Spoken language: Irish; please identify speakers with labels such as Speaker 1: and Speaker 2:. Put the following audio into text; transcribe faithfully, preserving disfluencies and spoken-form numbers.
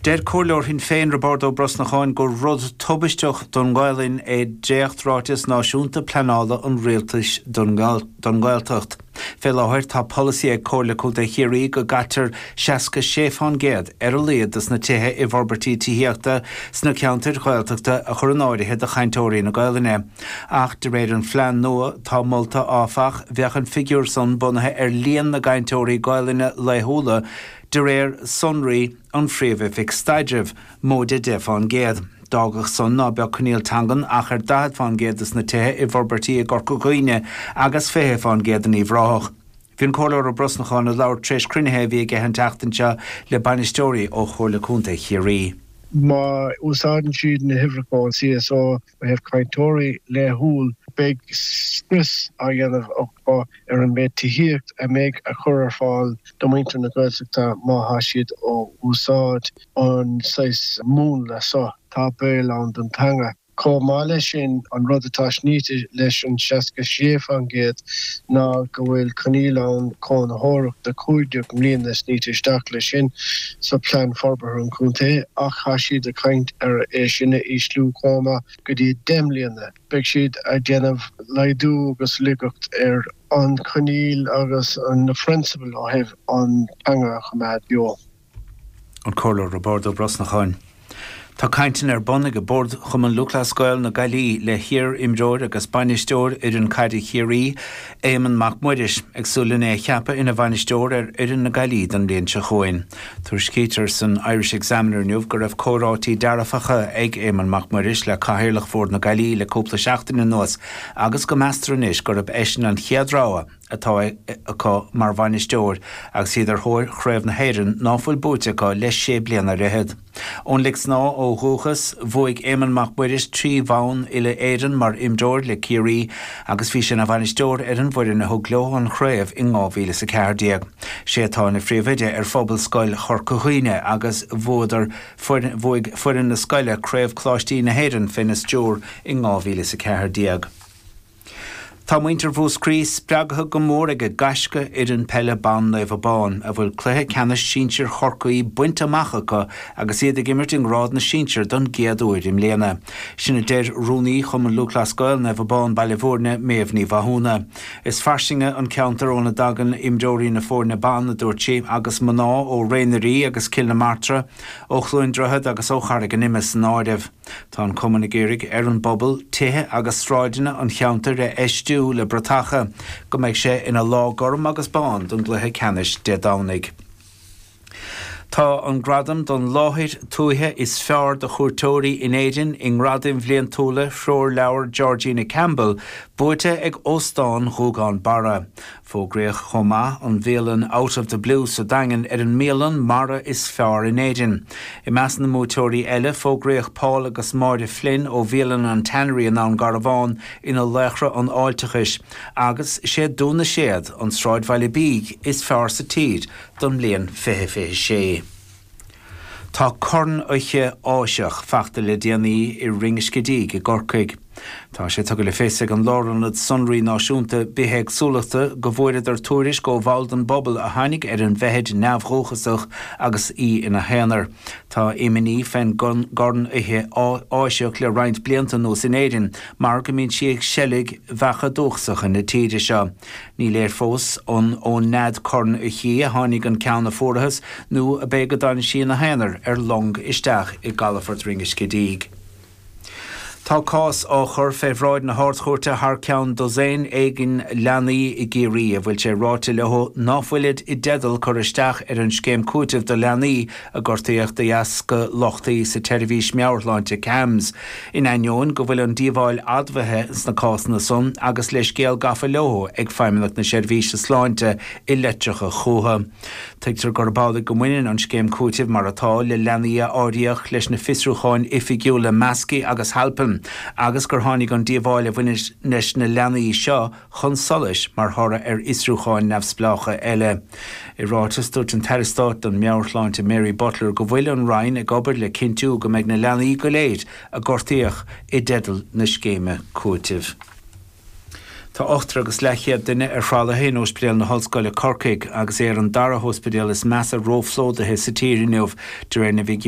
Speaker 1: Deir Comhairleoir Shinn Féin Roibeárd Ó Brosnacháin gur rud tubaisteach don Ghaelainn é dréachtráiteas náisiúnta pleanála an rialtais don Ghaeltacht. Fé láthair tá polasaí ag Comhairle Contae Chiarraí go gcaitear seasca sé fán gcéad ar a laghad dos na tithe i bhforbairtí tithíochta sna ceantair Ghaeltachta a chur in áirithe do chainteoirí na Gaelainne. Ach de réir an phlean nua atá molta áfach bheadh an figiúr san bunaithe ar líon na gcainteoirí Gaelainne laethúla de réir sonraí an Phríomh-Oifig Staidrimh, móide deich fán gcéad. D'fhágfadh san ná beadh coinníoll teangan ach ar daichead fán gcéad dos na tithe i bhforbairtí i gCorca Dhuibhne agus fiche fán gcéad in Uíbh Ráthach. Bhí an Comhairleoir Ó Brosnacháin ag labhairt tar éis cruinnithe a bhí aige an tseachtain seo le bainisteoirí ó Chomhairle Contae Chiarraí.
Speaker 2: Má úsáideann siad na huimhreacha ón CSO ó thaobh cainteoirí laethúil, beidh scrios á dhéanamh acu ar an méid tithíocht a mbeidh a chur ar fáil do mhuintir na Gaeltachta má thá siad á úsáid an saghas múnla so. Tá baol ann don teanga. Chomh maith leis sin, an rud atá snoite leis an seasca sé fán gcéad ná go bhfuil coinníoll ann cónaitheoireachta cúig déag mbliana snoite isteach leis sin sa plean forbartha an chontae ach tá siad ag caint ar é sin a ísliú chomh maith go dtí deich mbliana. Beidh siad ag déanamh laghdú agus laigeacht ar an choinníoll agus na phrionsabail ó thaobh an teanga a choimeád beo.
Speaker 1: An Comhairleoir Roibeárd Ó Brosnacháin. Tá cainteanna ar bun ag Bord Chumann Lúthchleas Gael na Gaillimhe le hiar-imreoir agus bainisteoir fhoireann caide Chiarraí, Éamonn Mac Muiris, ag súil lena é a cheapadh ina bhainisteoir ar fhoireann na Gaillimhe don bhliain seo chugainn. Tuairiscítear san Irish Examiner inniu go raibh comhráití dearfacha ag Éamonn Mac Muiris le cathaoirleach Bhord na Gaillimhe le cúpla seachtain anuas agus go meastar anois gurb eisean an chéad rogha atá acu mar bhainisteoir agus iad ar thóir Chraobh na hÉireann ná fuil buaite acu le sé bliana ar fhichead. Ón Lic Snámha ó dhúchas, bhuaigh Éamonn Mac Muiris trí bhonn uile Éireann mar imreoir le Ciarraí agus bhí sé ina bhainisteoir ar an bhfoireann a thug leo an chraobh in dhá mhíle is a ceathair déag. Sé atá ina phríomhoide ar Phobalscoil Chorca Dhuibhne agus bhuadar bhuaigh foireann na scoile Craobh Coláistí na hÉireann féna stiúir in dhá mhíle is a ceathair déag. Tá muintir Mhúscraí spreagtha go mór ag a gaisce fhoireann peile ban Naomh Abán, a bhfuil cluiche ceannais sinsir Chorcaí bainte amach acu agus iad ag imirt i ngrád na sinsear don gcéad uair i mbliana. Sin a deir rúnaí Chumann Lúthchleas Gael Naomh Abán Baile Bhúirne, Méabh Ní Mhathúna. Is fairsinge an ceantar óna dtagann imreoirí na foirne ban, a dúirt sí, agus mná ó Raonarí agus Cill na Martra, ó Chluain Droichead agus ó Charraig an Ime san áireamh. Tá an cumann ag iarraidh ar an bpobal tithe agus sráideanna an cheantair a fheistiú le bratacha go mbeidh sé ina lá gorm agus bán don gcluiche ceannais Dé Domhnaigh. Tá an gradam don láthair tuaithe is fearr do chuairteoirí in Éirinn i ngradaim bhliantúla threoirleabhar Georgina Campbell buaite ag Óstán Ghúgán Barra. Fógraíodh chomh maith an bhialann Out of the Blue sa Daingean ar an mbialann mara is fearr in Éirinn. I measc na mbuaiteoirí eile fógraíodh Paul agus Máire Flynn ó bhialann an Tannery in Abhainn Garbhán ina laochra an fháilteachais, agus sé Dún na Séad an sráidbhaile bídh is fearr sa tír don mbliain fiche fiche sé. Tá corn-fhoiche Áiseach fachta le déanaí i Rinn Uisce Díg i gCorcaigh. Tá sé tugtha le fios ag an Lárionad Sonraí Náisiúnta Bithéagsúlachta go bhfuaireadar tuairisc ó bhall den bpobal a tháinig ar an bhfeithid neamhdhúchasach agus í ina haonar. Tá imní fén gcornfhoiche Áiseach le roinnt blianta anuas in Éirinn mar go mbíonn sí ag seilg bheacha dúchasacha na tíre seo. Ní léir fós an ón nead cornfhoichí a tháinig an ceann a fuarthas nó ab é go dtáinig sí ina haonar ar long isteach i gcalafort Rinn Uisce Díg. Tá cás á chur fé bhráid na hArd-Chúirte thar ceann dosaen éigin leanaí i gCiarraí a bhfuil sé ráite leo ná fuilid i dteideal cur isteach ar an scéim cúitimh do leanaí a gortaíodh de dheasca lochtaí sa tseirbhís meabhairshláinte CAMHS, in ainneoin go bhfuil an díobháil admhaithe sna cásanna san agus leithscéal gafa leo ag Feidhmeannacht na Seirbhíse Sláinte i litreacha chucu. Tuigtear gurb amhlaidh go mbaineann an scéim cúitimh mar atá le leanaí a áiríodh leis na fiosrúcháin oifigiúla Maskey agus Halpin agus gur tháinig an díobháil a bhain leis na leanaí seo chun solais mar thoradh ar fhiosrúcháin neamhspleácha eile. I ráiteas, dúirt an tAire Stáit don Meabhairshláinte Mary Butler go bhfuil an Roinn ag obair le cinntiú go mbeidh na leanaí go léir a gortaíodh i dteideal na scéime cúitimh. Tá ochtar agus leathchéad duine ar thralaithe in Ospidéal na hOllscoile Corcaigh agus é ar an dara hóspidéal is measa róphlódaithe sa tír inniu, de réir na bhfigiúirí.